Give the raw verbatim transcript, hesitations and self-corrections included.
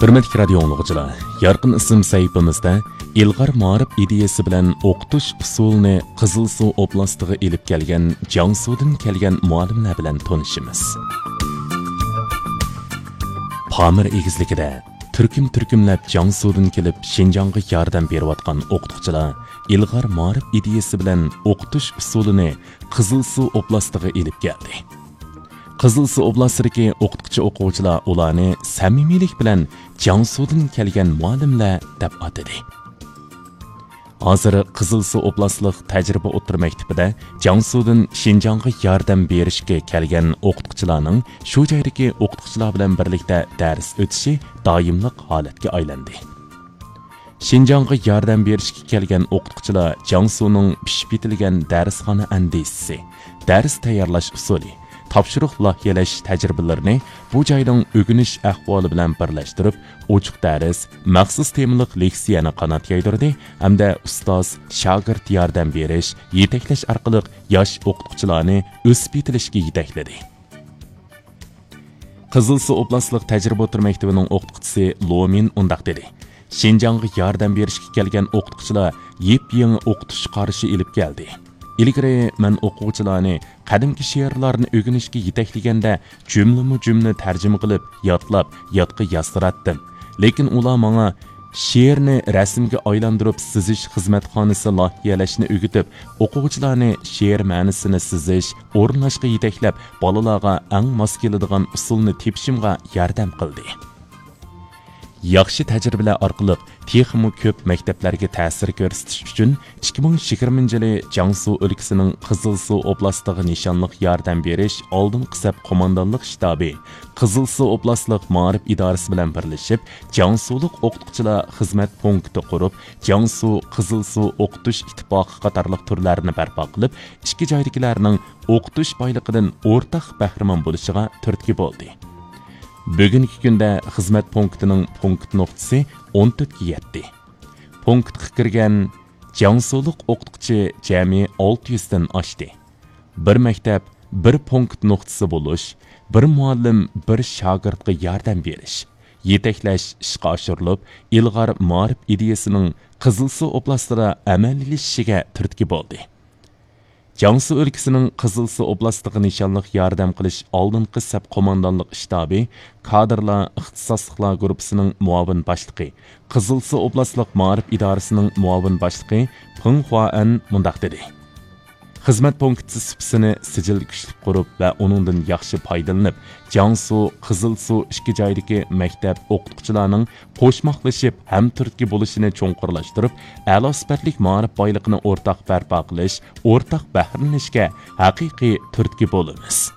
ھۆرمەتلىك رادىيو ئاڭلىغۇچىلار، يارقىن ئىسىم سەھىپىمىزدە ئىلغار مائارىپ ئىدىيەسى بىلەن ئوقۇتۇش ئۇسۇلىنى قىزىلسۇ ئوبلاستىغا ئېلىپ كەلگەن جياڭسۇدىن كەلگەن مۇئەللىملەر بىلەن تونۇشىمىز. پامىر ئېگىزلىكىدە تۈركۈم-تۈركۈملەپ جياڭسۇدىن كېلىپ شىنجاڭغا ياردەم بېرىۋاتقان ئوقۇتقۇچىلار ئىلغار مائارىپ ئىدىيەسى بىلەن ئوقۇتۇش ئۇسۇلىنى قىزىلسۇ ئوبلاستىغا ئېلىپ كەلدى. قىزىلسۇ ئوبلاستىدىكى ئوقۇتقۇچى ئوقۇغۇچىلار ئۇلارنى سەمىمىيلىك بىلەن جياڭسۇدىن كەلگەن مۇئەللىملەر دەپ ئاتىدى. ھازىر قىزىلسۇ ئوبلاستلىق تەجرىبە ئوتتۇرا مەكتىپىدە جياڭسۇدىن شىنجاڭغا ياردەم بېرىشكە كەلگەن ئوقۇتقۇچىلارنىڭ شۇ جايدىكى ئوقۇتقۇچىلار بىلەن بىرلىكتە دەرس ئۆتۈشى دائىملىق ھالەتكە ئايلاندى. شىنجاڭغا ياردەم بېرىشكە كەلگەن ئوقۇتقۇچىلار جياڭسۇنىڭ پىشىپ يېتىلگەن دەرسخانا ئەندىزىسى، دەرس تەييارلاش ئۇسۇلى، تاپشۇرۇق لايىھەلەش تەجرىبىلىرىنى بۇ جاينىڭ ئۆگىنىش ئەھۋالى بىلەن بىرلەشتۈرۈپ، ئوچۇق دەرس، مەخسۇس تېمىلىق لېكسىيەنى قانات يايدۇردى ھەمدە ئۇستاز، شاگىرت ياردەم بېرىش، يېتەكلەش ئارقىلىق ياش ئوقۇتقۇچىلارنى ئۆسۈپ يېتىلىشكە يېتەكلىدى. قىزىلسۇ ئوبلاستلىق تەجرىبە ئوتتۇرا مەكتىپىنىڭ ئوقۇتقۇچىسى لومىن ئۇنداق دېدى: شىنجاڭغا ياردەم بېرىشكە كەلگەن ئوقۇتقۇچىلار يېپيېڭى ئوقۇتۇش قارىشى ئېلىپ كەلدى. ئىلگىرى مەن ئوقۇغۇچىلارنى قەدىمكى شېئىرلارنى ئۆگىنىشكە يېتەكلىگەندە، جۈملىمۇ جۈملە تەرجىمە قىلىپ، يادلاپ، يادقا يازدۇراتتىم. لېكىن ئۇلار ماڭا شېئىرنى رەسىمگە ئايلاندۇرۇپ سىزىش خىزمەتخانىسى لايىھەلەشنى ئۆگىتىپ، ئوقۇغۇچىلارنى شېئىر مەنىسىنى سىزىش، ئورۇنلاشقا يېتەكلەپ، بالىلارغا ئەڭ ماس كېلىدىغان ئۇسۇلنى تېپىشىمغا ياردەم قىلدى. ياخشى تەجرىبىلەر ئارقىلىق تېخىمۇ كۆپ مەكتەپلەرگە تەسىر كۆرسىتىش ئۈچۈن، ئىككى مىڭ يىگىرمىنچى يىلى جياڭسۇ ئۆلكىسىنىڭ قىزىلسۇ ئوبلاستىغا نىشانلىق ياردەم بېرىش ئالدىنقى سەپ قوماندانلىق شتابى قىزىلسۇ ئوبلاستلىق مائارىپ ئىدارىسى بىلەن بىرلىشىپ، جياڭسۇلۇق ئوقۇتقۇچىلار خىزمەت پونكىتى قۇرۇپ، جياڭسۇ قىزىلسۇ ئوقۇتۇش ئىتتىپاقى قاتارلىق تۈرلەرنى بەرپا قىلىپ، ئىككى جايدىكىلەرنىڭ ئوقۇتۇش بايلىقىدىن ئورتاق بەھرىمەن بولۇشىغا تۈرتكە بولدى. بۈگۈنكى كۈندە خىزمەت پونكىتىنىڭ پونكىت نۇقتىسى ئون تۆتكە يەتتى. پونكىتقا كىرگەن جياڭسۇلۇق ئوقۇتقۇچى جەمئىي ئالتە يۈزدىن ئاشتى. بىر مەكتەپ، بىر پونكىت نۇقتىسى بولۇش، بىر مۇئەللىم، بىر شاگىرتقا ياردەم بېرىش، يېتەكلەش ئىشقا ئاشۇرۇلۇپ، ئىلغار مائارىپ ئىدىيەسىنىڭ قىزىلسۇ ئوبلاستىدا ئەمەلىيلىشىشىگە تۈرتكە بولدى. جياڭسۇ ئۆلكىسىنىڭ قىزىلسۇ ئوبلاستىغا نىشانلىق ياردەم قىلىش ئالدىنقى سەپ قوماندانلىق شتابى كادىرلار ئىختىساسلىقلار گۇرۇپپىسىنىڭ مۇئاۋىن باشلىقى، قىزىلسۇ ئوبلاستلىق مائارىپ ئىدارىسىنىڭ مۇئاۋىن باشلىقى پېڭ خۇائەن مۇنداق دېدى: خىزمەت پونكىتى سۇپىسىنى سىجىل كۈچلۈك قۇرۇپ ۋە ئۇنىڭدىن ياخشى پايدىلىنىپ، جياڭسۇ، قىزىلسۇ ئىككى جايدىكى مەكتەپ ئوقۇتقۇچىلارنىڭ قوشماقلىشىپ ھەم تۈرتكە بولۇشىنى چوڭقۇرلاشتۇرۇپ، ئەلا سۈپەتلىك مائارىپ بايلىقىنى ئورتاق بەرپا قىلىش، ئورتاق بەھرىلىنىشكە ھەقىقىي تۈرتكە بولىمىز.